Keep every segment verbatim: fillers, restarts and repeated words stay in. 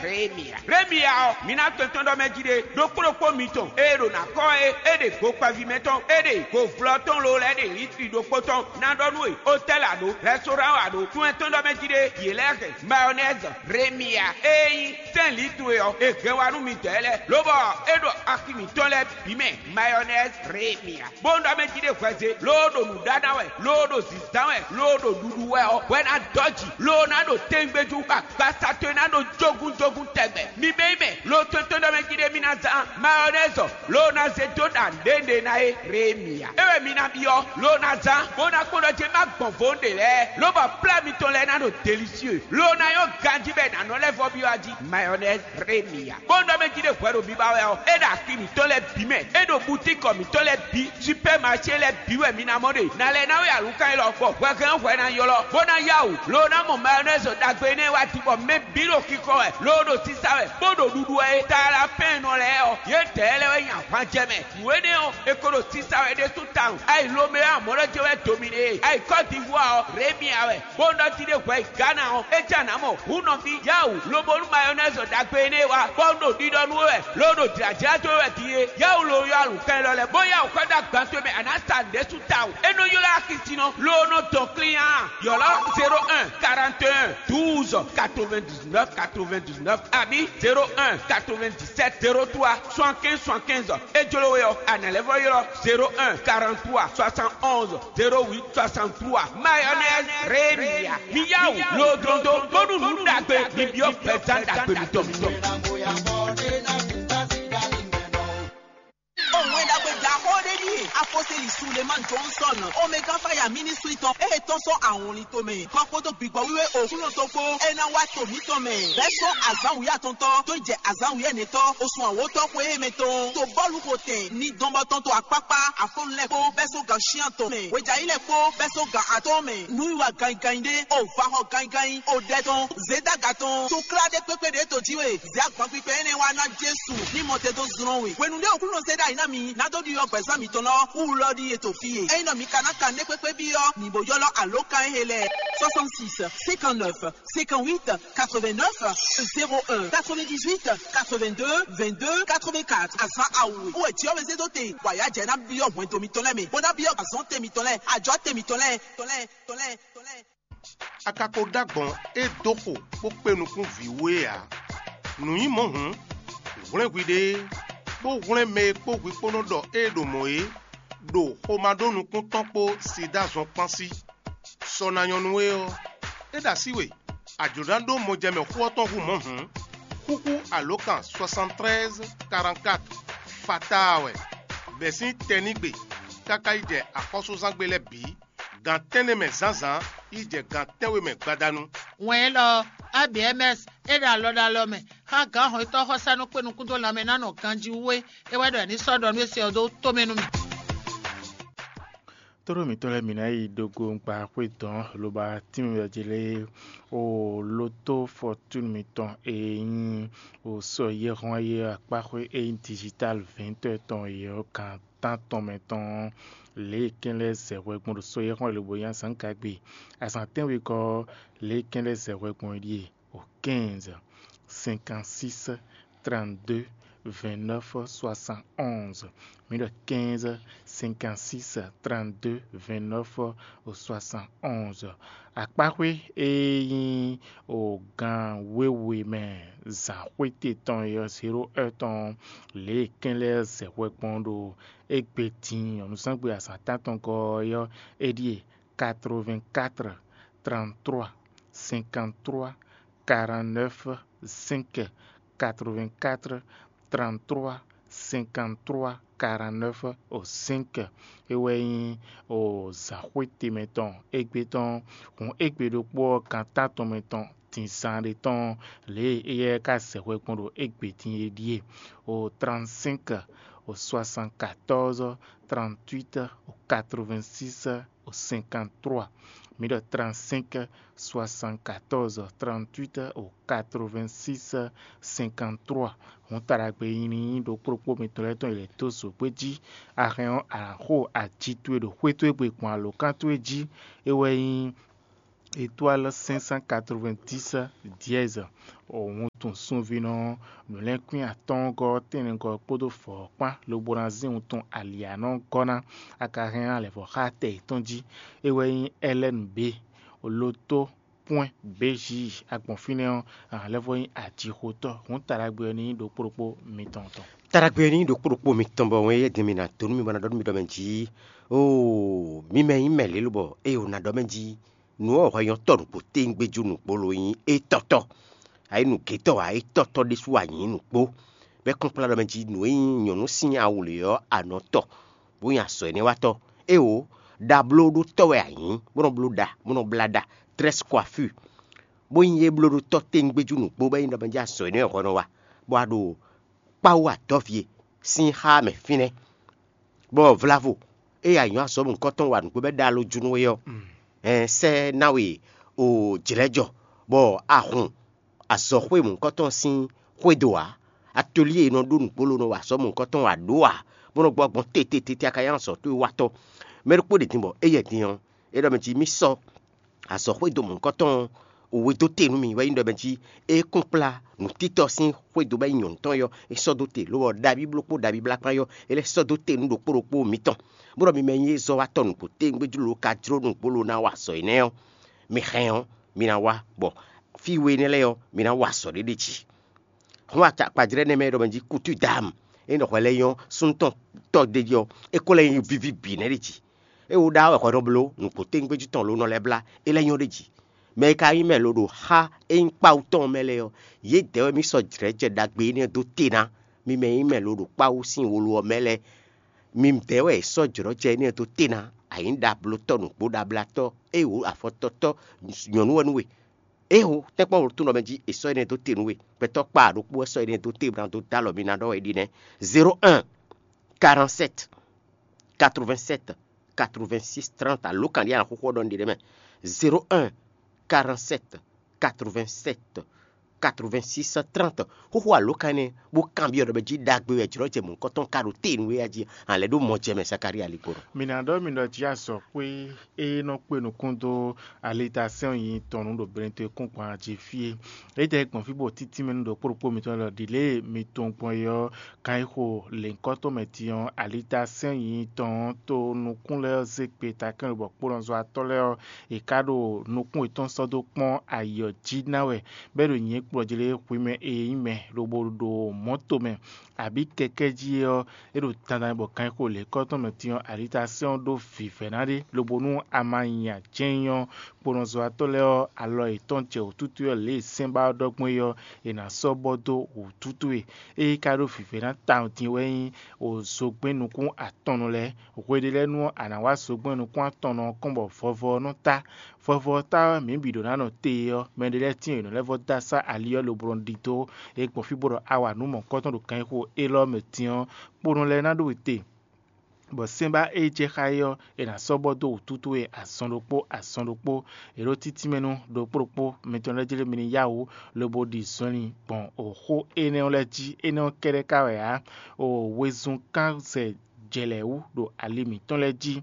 Rémia. Rémia ɔ́, mi ná tɔn tɔn ɖɔ mɛ jí ɖe, ɖokpó ɖokpó mitɔn e ɖo ná kɔ é, é ɖe go kpɛví mɛ tɔn, é ɖe go vlɔ tɔn loo lɛ́ɛ ɖe litri ɖokpó tɔn ná ɖɔ nú we, otɛ́l a ɖǒ, rɛstoran a ɖǒ, tún ɛ tɔn ɖɔ mɛ jí ɖe, yě lɛ́ hɛn mayɔnɛ́zi Rémia e nyí sɛ́n litri e ɔ́, è hɛn wá nú midɛɛ lɛ́ɛ, lobɔ é ɖo axi mǐtɔn lɛ́ɛ bǐ mɛ, mayɔnɛ́zi Rémia. Bó ɖɔ mɛ jí ɖe hwɛze, loo ɖo nǔ ɖa ná wɛ, loo ɖo zǐzán wɛ, loo ɖo ɖuɖu wɛ ɔ́, hwɛ ná dɔ́ jǐ, loo ná ɖo tɛngbéjú, agbasa towe ná ɖo jógúnjógún tɛgbɛ. Mi bɛ́ mɛ, loo tɔn tɔn ɖɔ mɛ jí ɖe mi ná zán mayɔnɛ́zi, loo ná zé dó ɖa nǔɖénúɖé ná é, Rémia. É wɛ mi ná byɔ́, loo ná zán, bó ná kpɔ́n ɖɔ jé má gbɔn vo ɖe lɛ́ɛ, lobɔ plá mitɔn lɛ́ɛ ná ɖo delisieu, loo ná nyɔ́ ganjí bɔ è nǎ nɔ lɛ́ vɔ́ byɔ́ ají, mayɔnɛ́zi Rémia. Bó ɖɔ mɛ jí ɖe hwɛ ɖo biba wɛ ɔ́, é ɖo axi mǐtɔn lɛ́ɛ bǐ mɛ, é ɖo butíkɔ mǐtɔn lɛ́ɛ bǐ, supɛ́maṣé lɛ́ɛ bǐ wɛ mi ná mɔ ɖe. Nǎ lɛ́ ná wɛ alǔkan élɔ́, bɔ hwɛhɛn hwɛ ná ylɔ́, bó ná yá wǔ, loo ná mɔ mayɔnɛ́zi ɖagbe énɛ́ wá din, bɔ mɛ bǐ ɖo xixɔ wɛ, loo ɖo sísá wɛ, bó ɖo ɖuɖu wɛ é. Talafɛ́nnɔ lɛ́ɛ ɔ́, yědɛɛ lɛ́ɛ wɛ nyi ahwan jɛ mɛ. Nǔ énɛ́ ɔ́, è ko ɖo sísá wɛ ɖésú tawun. Ayi Lomé amɔ̌ lɛ́ jɛ́n wɛ do mì ɖe. Ayi Kɔ́divuá ɔ́, Rémia wɛ, bó nɔ jí ɖe hwɛ yi Gana ɔ́, é jɛ nǎ mɔ hǔn nɔví Yawu, lobo nú mayɔnɛ́zi ɖagbe énɛ́ wá, bɔ un ɖo ɖiɖɔ nú we wɛ, loo ɖo jlǎjlá dó we wɛ din é. Yawu lo ylɔ́ alǔkan élɔ́ lɛ́ɛ, bó Yawu xwɛ dó agban towe mɛ, a nǎ sa nǔɖésú tawun. É nɔ ylɔ́ axisinnɔ, loo nɔ dɔn klín a? Ylɔ́ zéro un quarante et un douze quatre-vingt-dix-neuf quatre-vingt-dix-neuf abǐ zéro un quatre-vingt-dix-sept zéro trois soixante-quinze soixante-quinze. É jló we ɔ́, a nǎ lɛ́ vɔ́ ylɔ́ zéro un quarante-trois soixante-onze zéro huit soixante-trois. Mayonnaise Rémia. Mi yá wǔ lódódó bónú nǔ ɖagbe mi byɔ́ gbɛzán ɖagbe mitɔn. Ohun e ɖagbe ɖaxó ɖé ɖíe apɔ́sɛ́li Sulemani Johnson, Omega Fire Ministry tɔn, e tɔ́n sɔ́ awɔnlin tomɛ, kɔ kpódó gbigbɔ wíwé Oklúnɔ tɔn kpó, é ná wá to mǐtɔn mɛ. Bɛ́ sɔ́ azǎn wǔyá atɔntɔ́ dó yi jɛ azǎn wǔyá ɛnɛtɔ́, osun awǒtɔ́ xwé e mɛ tɔn, to bɔ́lu xo tɛn, ní dɔn bɔ tɔn to akpákpá, afɔ́nú lɛ́ɛ kpó, bɛ́ sɔ́ gan cyán tɔn mɛ, hwejayi lɛ́ɛ kpó, bɛ́ sɔ́ gan atɔ́ɔ́n mɛ, nǔwiwa ganyiganyi ɖé, o va xɔ ganyiganyi, o ɖɛ tɔn, zědaga tɔn, cukla ɖé kpékpé ɖě to jí we, zě agbankpikpɛ énɛ́ wá ná Jezu, ní mɔ te dó zlɔ́n we. Hwenu ɖé Oklúnɔ zé ɖ'ayǐ ná mi, ná dó ɖiɖɔ gbɛ̌zán mitɔn lɔ, wú lɔ ɖíe to fí e. Ényí nɔ mi ka ná kan nɛ́ kpékpé byɔ́, mǐ bó ylɔ́ alǒkan e lɛ́ɛ. Soixante-six, cinquante-neuf, cinquante-huit, quatre-vingt-neuf, zéro un, quatre-vingt-dix-huit, quatre-vingt-deux, vingt-deux, quatre-vingt-quatre. Azǎn awu e wɛ Jǐɔ́mɛ zé dó te, wǎ yá jɛ ná byɔ́ hwɛndo mitɔn lɛ́ɛ mɛ, bó ná byɔ́ azɔ̌ tɛn mitɔn lɛ́ɛ, ajɔ̌ tɛn mitɔn lɛ́ɛ, tɔn lɛ́ɛ, tɔn lɛ́ɛ, tɔn lɛ́ɛ. A ka ko ɖó agbɔ̌n e dó xo bó kpé nukún vǐ wú é ǎ. Nǔ nyí mɔ̌ hǔn, hwlɛ́n hwiɖée, bó hwlɛ́n mɛ e kpó hwi kpó nɔ ɖɔ ée ɖo mɔ̌ é, ɖo xomá ɖó nukún tɔn kpó Sidáa zɔn kpán sí. Sɔ ná nyɔ́ nú we ɔ́, é ɖo así we, a jlǒ ná ɖó mɔjɛmɛ xó ɔ́ tɔn hú mɔ̌ hǔn, xúxú alǒkan soixante-treize quarante-quatre fatáa wɛ, bɛ̌ sín tɛnígbe káká yi jɛ axɔ́súzángbe lɛ́ɛ bǐ, gan tɛ́nnɛ mɛ zǎnzǎn yi jɛ gan tɛ́nwe mɛ gbadanu. Wɛn élɔ́ ɔ́, A B M S é ɖo alɔ ɖo alɔ mɛ xá gǎn hɔn e tɔ́ xɔsá nɔ kpé nukún dó lanmɛ ná nɔ ganjí wú é. É wɛ ɖɔ è ní sɔ́ ɖɔ nú é se ɔ́ dó tó mɛ nú mì. Tóɖó mǐtɔn lɛ́ɛ mǐ ná yi ɖo go gbǎxwé dɔn loba tínmɛ jlé o lótó fɔtúnu mitɔn e nyí o sɔ yɛhɔn e akpáxwé e nyí digital vɛ̌ntɔ́ tɔn e ɔ́ kan tántɔn mɛ tɔn lě e kɛn lɛ́ɛ zɛ hwɛ gbɔn ɖo sɔ yɛhɔn e lobo nyí azǎngagbe azǎn tɛ́nwegɔ́ ɔ́, lě e kɛn lɛ́ɛ zɛ hwɛ gbɔn é ɖíe: au quinze, cinquante-six, trente-deux, vingt-neuf, soixante-onze. Mǐ ɖɔ quinze, cinquante-six, trente-deux, vingt-neuf, soixante-onze. Akpáxwé e nyí o gan wěwe mɛ zǎnxwéte tɔn e ɔ́, zéro heure tɔn, lě e kɛn lɛ́ɛ zɛ hwɛ gbɔn ɖo égbé din nyɔ̌nuzángbe azǎn tántɔn gɔ́ ɔ́ é ɖíe: quatre-vingt-quatre, trente-trois, cinquante-trois, quarante-neuf, cinq, quatre-vingt-quatre, trente-trois, cinquante-trois, quarante-neuf, au cinq. É wɛ nyí o zǎnxwéte mɛ tɔn égbé tɔn, hǔn égbé ɖokpó ɔ́, gan tántɔn mɛ tɔn, din zán ɖé tɔn, lě e éyɛ́ ka zɛ hwɛ gbɔn ɖo égbé din é ɖíe: au trente-cinq, au soixante-quatorze, trente-huit, au quatre-vingt-six, au cinquante-trois. Mǐ ɖɔ trente-cinq, soixante-quatorze, trente-huit, au quatre-vingt-six, cinquante-trois. Hǔn taɖagbe nyí ɖokpó ɖokpó mitɔn lɛ́ɛ tɔn e lɛ̌ dó zogbé jí. A hɛn ɔ́, a nǎ xo aji towe ɖo xwé towe gbe gbɔn alǒkan towe jí. É wɛ nyí Étoile cinq cent quatre-vingt-dix dièse, o wuntun sunvínɔ nǔlɛ́nkwín atɔ́ɔ́ngɔ́ tɛ́nnɛgɔ́ kpódó vɔ̌ kpán lobo ná zín wuntun alǐanɔ́ gɔ́ ná. A ka hɛn alɛ̌vɔ́ xá tɛ yětɔn jí. É wɛ nyí Ɛlɛ́nu B, loto pwɛ́n B J. A gbɔn fínɛ́ ɔ́, a nǎ lɛ́ vɔ́ nyí ajixotɔ́. Hǔn taɖagbe ɔ́ ní nyí ɖokpó ɖokpó mitɔn tɔn. Taɖagbe ɔ́ ní nyí ɖokpó ɖokpó mitɔn bɔ wɛn yɛ́ din mi ná dó nú mi bɔ ná ɖɔ nú mi ɖɔ mɛ jí. Oo, mi mɛ nyí mɛ lě lobɔ ée ò ná ɖɔ mɛ jí. Nǔ ɔ́ hwɛ nyɔ́tɔ́ nǔgbó téwúngbéjú nǔgbó lo nyí étɔ́tɔ́. Ayǐ nǔgétɔ́ ǎ, étɔ́tɔ́ ɖésú wɛ a nyǐ nǔgbó. Bɔ é kplɔ́n ɔ́ ɖɔ mɛ jí nǔ e nyí nyɔ̌nu sín awu lě ɔ́, a nɔ tɔ, bó nyí azɔ̌ énɛ́ wa tɔ́. Éeǒ, ɖablóɖótɔ́ wɛ a nyǐ, bó nɔ bló ɖa, bó nɔ blá ɖa, trɛ́s kwafú, bó nyí éblóɖótɔ́ téwúngbéjú nǔgbó, bɔ é nyí ɖɔ mɛ jí azɔ̌ énɛ́ wɛ hwɛ nɔ wa, bɔ a ɖo kpáwú adɔ́vie sín xá mɛ fínɛ́. Bɔ vlavo, ée a nyɔ̌ azɔ̌ nukɔntɔn wa nǔgbó bɔ é ɖó alɔ jú nú we ɔ́, hɛn sɛ́ ná we o jlɛ̌jɔ, bɔ a hun azɔ̌xwé mɔ̌hunkɔtɔn sín xwédo ǎ. Atolíe e nɔ ɖó nǔgbó lo nɔ wa azɔ̌ mɔ̌hunkɔtɔn wɛ a ɖǒ ǎ, bó nɔ gbɔ gbɔn tetetete a ka nyí azɔ̌ towe watɔ́. Mɛ ɖokpó ɖě din bɔ éyɛ́ din ɔ́, é ɖɔ mɛ jí mì sɔ́ azɔ̌xwédo mɔ̌hunkɔtɔn ɔ́, we dó te nú mì, wɛ nyí ɖɔ mɛ jí é kún kplá nǔtítɔ́ sín xwédo bɔ é nyí nyɔ̌nu tɔn yɔ, é sɔ́ dó te, lobɔ ɖaví bló kpó ɖaví blá kpán yɔ, é lɛ́ sɔ́ dó te nú ɖokpó ɖokpó mitɔn. Bó ɖɔ mi mɛ nyí zɔ́watɔ́ nǔgbó téwúngbéjú lo ka jló nǔgbó lo ná wa azɔ̌ énɛ́ ɔ́, mi hɛn ɔ́, mi ná wá, bɔ fí we énɛ́ lɛ́ɛ ɔ́, mi ná wa azɔ̌ ɖé ɖ'é jí. Hɔn akpajlɛ́ nɛ́ mɛ e ɖɔ mɛ jí kútú dǎmu, é nɔ hwɛ lɛ́ɛ nyɔ́ súnnu tɔn tɔ́ ɖ'é jí ɔ́, é kó lɛ́ nyí víví bǐ nɛ́ ɖ'é jí. É wú ɖá wɛ hwɛ nɔ bló nǔgbó téwúngbéjú tɔn lo nɔ lɛ́ blá, é lɛ́ nyɔ́ ɖ'é jí. Mɛ e ka nyí mɛ lo ɖo xá e nyí kpáwú tɔn mɛ lɛ́ɛ ɔ́, yědɛɛ wɛ mì sɔ́ jlɛ̌jɛ ɖagbe énɛ́ dó te ná. Mi mɛ e nyí mɛ lo ɖo kpáwú sín wolo ɔ́ mɛ lɛ́ɛ, midɛɛ wɛ è sɔ́ jlɔ̌jɛ énɛ́ dó te ná. Ayǐ ɖablótɔ́ nǔgbó ɖablatɔ́, é wǒ afɔtɔtɔ́ nyɔ̌nu wɛ nú we. Éeǒ, tɛ́nkpɔ́n wǒ tún nɔ mɛ jí è sɔ́ énɛ́ dó te nú we. Gbɛtɔ́ kpá ɖokpó wɛ sɔ́ énɛ́ dó te bó ná dó dó alɔ mi ná ɖɔ wɛ ɖi nɛ́. Zéro un, quarante-sept, quatre-vingt-sept, quatre-vingt-six, trente, alǒkan ɖíe a nǎ xóxó ɔ́ ɖɔ nú ɖě ɖ'é mɛ. Zéro un, quarante-sept, quatre-vingt-sept, quatre-vingt-six, trente. Xóxó alǒkan énɛ́ bó kanbyɔ́ ɖɔ mɛ jí ɖagbe wɛ jlɔ̌ jɛ mɔ̌hunkɔtɔn ka ɖo te nú éyɛ́ jí, a lɛ̌ ɖó mɔ jɛ mɛ Zakalía ligbɔnɔ. Mi ná ɖɔ mi ɖɔ jí azɔ̌xwé e nɔ kpé nukún dó alitasɛ́n nyi tɔn nú ɖo Benɛtɔ́ kúnkpan jí fí é. Étɛ́ gbɔn fí bɔ títí mɛ nú ɖokpó ɖokpó mitɔn lɔ ɖi lě e mi tunwun gbɔn é ɔ́, kan e xo lěhunkɔtɔn mɛ din ɔ́, alitasɛ́n nyi tɔn ɔ́ to nukún lɛ́ɛ ɔ́ zé kpe takɛ́n lobɔ kpónɔzɔ́watɔ́ lɛ́ɛ ɔ́, è ká ɖo nukún yětɔn sɔ́ dó kpɔ́n ayǐ ɔ́ jí ná wɛ, bɔ é ɖo nyǐ kplɔ́ jí lé hwi mɛ e nyí mɛ lobo ɖo mɔ̌to mɛ, abǐ kɛkɛ́ jí é ɔ́, é ɖo dandan bɔ kan e xo lěhunkɔtɔn mɛ din ɔ́, alitasɛ́n ɔ́ ɖó vǐvɛ́ná ɖé, lobo nú a ma nya jɛ́n nyí ɔ́, kponɔzɔ́watɔ́ lɛ́ɛ ɔ́, alɔ yětɔn jɛ wǔtútú ɔ́ lě e sɛ́n ba ɔ́ ɖɔ gbɔn é ɔ́, è nǎ sɔ́ bɔ dó wǔtútú e. Ée ka ɖó vǐvɛ́ná tawun din wɛ nyí o zogbɛ́n nukún atɔnnɔ lɛ́ɛ. Hwe ɖé lɛ́ɛ nu ɔ́, a nǎ wá zogbɛ́n nukún atɔnnɔ ɔ́ kɔn bɔ vɔvɔ ɔ́ nɔ́ tá. Vɔvɔ ɔ́ tá ɔ́, mǐ bǐ ɖǒ ná nɔ te e ɔ́, mɛ ɖé lɛ́ɛ tíin è nɔ lɛ́ vɔ́ dó asá ali ɔ́ lobo nɔ ɖidó é gbɔn fí bó ɖɔ a wa nǔ mɔ̌hunkɔtɔn ɖo ganxixo élɔ́ mɛ din ɔ́, kponɔ lɛ́ɛ ná ɖó we te, bɔ sɛ́nbá e jɛ xá é ɔ́, è nǎ sɔ́ bɔ dó wǔtútú we azɔn ɖokpó azɔn ɖokpó. È ɖó títínmɛ nú ɖokpó ɖokpó mitɔn lɛ́ɛ jlé mi ní yá wǔ, lobo ɖi zɔnlin gbɔn xó énɛ́ ɔ́ lɛ́ɛ jí. Énɛ́ ɔ́ kɛ́ɖɛ́ ka wɛ ǎ, o wezun kán zɛ jɛ lɛ̌ wú ɖo ali mǐtɔn lɛ́ɛ jí.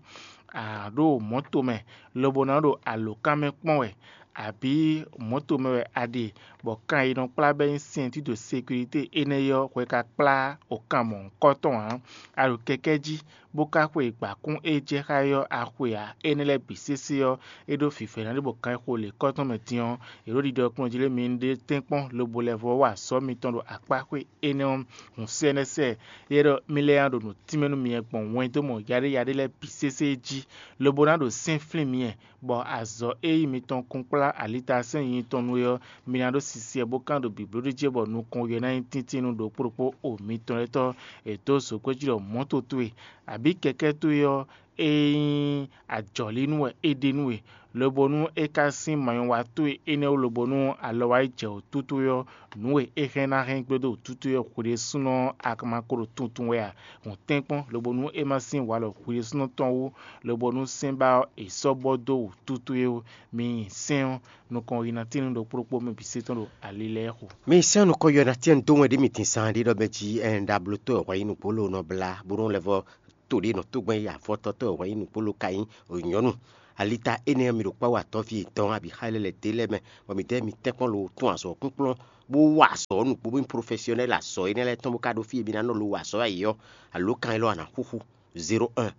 A ɖo mɔ̌to mɛ, lobo ná ɖo alǒkan mɛ kpɔ́n wɛ, abǐ mɔ̌to mɛ wɛ a ɖe, bɔ kan e nɔ kplá bɔ é nyí ceinture de sécurité énɛ́ ɔ́ hwɛ ka kplá o kan mɔ̌hunkɔtɔn ǎ. A ɖo kɛkɛ́ jí, bó ka xwe gbǎkún e jɛ xá é ɔ́, a xwe ǎ. Énɛ́ lɛ́ɛ bǐ sésé ɔ́, é ɖó vǐvɛ́ná ɖé bɔ kan e xo lě kɔ́tɔn mɛ din ɔ́, è ɖǒ ɖiɖɔ kplɔ́n jí lé mi ɖe tɛ́nkpɔ́n lobo lɛ́ vɔ́ wa azɔ̌ mitɔn ɖo akpáxwé énɛ́ ɔ́. Hǔn sɛ́nɛ́ sɛ, é ɖɔ mì lɛ́ nya ɖo nǔ tínmɛ nú mi wɛ gbɔn wɛn dó mɔ yaɖéyaɖé lɛ́ɛ bǐ sésé jí, lobo ná ɖo sɛ́n flín mi wɛ, bɔ azɔ̌ e nyí mitɔn kunkplá alitasɛ́n nyinyi tɔn nu é ɔ́, mi ná ɖó sisi ɛ bó kán ɖo bǐblóɖí jí bɔ nukɔn yɔ ná nyí tíntín nú ɖokpó ɖokpó o mitɔn lɛ́ɛ tɔ́. È dó zǒgbéjí ɖɔ mɔ̌to towe, abǐ kɛkɛ́ towe ɔ́, é nyí ajɔ̌línú wɛ é ɖe nú we, lobo nú é ka sín manyɔwa towe énɛ́ wú lobo nú alɔ wá yi jɛ wǔtútú ɔ́, nǔ e é hɛn ná hɛn gbé dó wǔtútú ɔ́ hwi ɖésúnɔ a ka ma ko ɖo tuntun wɛ a? Hǔn tɛ́nkpɔ́n, lobo nú é ma sín walɔ hwi ɖésúnɔ tɔn wú, lobo nú sɛ́nbá ɔ́ è sɔ́ bɔ dó wǔtútú é wú. Mi nyi sɛ́n ɔ́, nukɔn yi ná tín nú ɖokpó ɖokpó mɛ bǐ se tɔn ɖo ali lɛ́ɛ xo. Mi nyi sɛ́n nukɔn yɔ ná tín dó wɛn ɖé mi din sán ɖé ɖɔ mɛ jí ɛn ɖablótɔ́ wɛ hwɛ nyí nǔgbó lo nɔ blá, bónú lɛ́ vɔ to ɖé nɔ tó gbɛn yi avɔtɔtɔ́ wɛ hwɛ nyí nǔgbó lo ka nyí nyɔ̌nu. Alita énɛ́ ɔ́, mi ɖo kpá wa atɔ́ví yětɔn abǐ xá lɛ́ lɛ̌ dó lɛ́ mɛ, bɔ mǐ dɛ́ mi tɛ́nkpɔ́n lo tún azɔ̌ kpínkplɔ́n, bó wa azɔ̌ nǔgbó bó nyí profɛsyɔnɛ́l azɔ̌ énɛ́ lɛ́ɛ tɔn bó ka ɖó fí e mi ná nɔ lo wa azɔ̌ ayǐ ɔ́, alǒkan élɔ́ a nǎ xúxú: zéro un,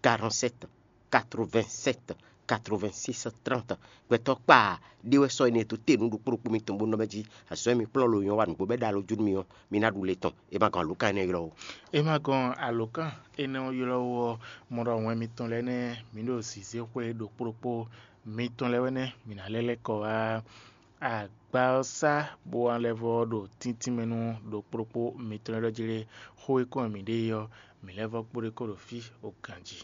quarante-sept, quatre-vingt-sept, quatre-vingt-six, trente. Gbɛtɔ́ kpa ɖé wɛ sɔ́ énɛ́ dó te nú ɖokpó ɖokpó mitɔn bó nɔ bɛ́ jí. Azɔ̌ e mi kplɔ́n lo nyɔ́ wa nǔgbó bɛ́ ɖo alɔ jó nú mi ɔ́, mi ná ɖu le tɔn. É ma gɔn alǒkan énɛ́ ylɔ́ ó. É ma gɔn alǒkan énɛ́ ɔ́ ylɔ́ ó. Mɔ ɖɔ wɛn mitɔn lɛ́ɛ nɛ́, mǐ ɖo zǐzéxwé ɖokpó ɖokpó mitɔn lɛ́ɛ wɛ nɛ́, mǐ ná lɛ́ lɛ́ kɔ wá agbawɔsá, bó wá lɛ́ vɔ́ ɖo tíntín mɛ nú ɖokpó ɖokpó mitɔn lɛ́ɛ ɖɔ jí lé. Xó e kɔn mǐ ɖe é ɔ́, mǐ lɛ́ vɔ́ kpóɖó kó ɖo fí o ganjí.